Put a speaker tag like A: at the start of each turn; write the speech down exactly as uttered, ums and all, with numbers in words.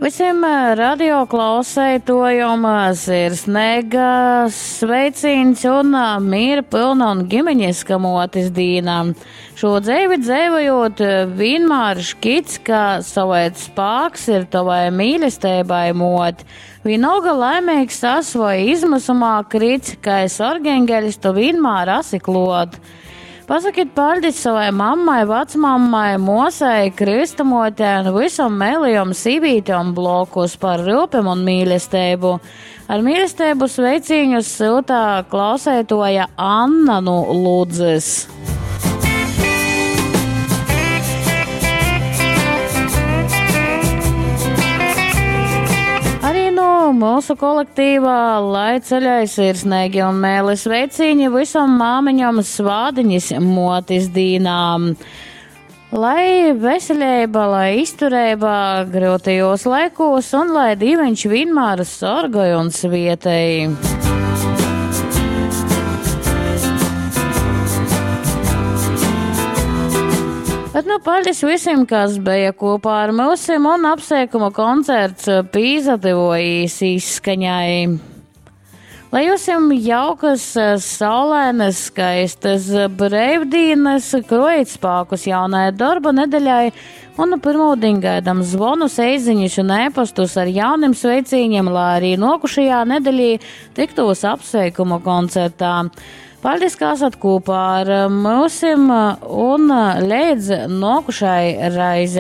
A: Visiem radio klausētojum sirsnīga sveicīns un miera pilna un ģimeņiska motis dīna. Šo dzēvi dzēvojot vienmēr škits, ka savait spāks ir tavai mīlestībai mot. Vienalga laimīgs as vai izmisumā krits, ka es orgeņgeļs tu vienmēr asi klot. Pasakit paļdis savai mammai, vecmammai, mosai, kristamotē un visam mēlijam sīvītēm blokus par rūpem un mīlestību. Ar mīlestību sveicīņus siltā klausētoja Anna no Ludzes. Mūsu kolektīvā, lai ceļai sirsnīgi un mēli sveicīņi visam māmiņam svādiņas motis dīnām. Lai veselība, lai izturība grūtajos laikos un lai dīveņš vienmēr sorgoj un svietēj. Bet nu paļdis visiem, kas bija kopā ar mūsim un apsveikuma koncerts pīzatevojīs izskaņai. Lai jums jaukas, saulainas, skaistas breivdienas, krojit spākus jaunai darba nedeļai un pirmūdiņ gaidam zvonus, eiziņus un ēpastus ar jauniem sveicīņiem, lai arī nokušajā nedeļī tiktos apsveikuma koncertā. Paldies, ka esat kopā ar mūsim un līdz nokušai raizei.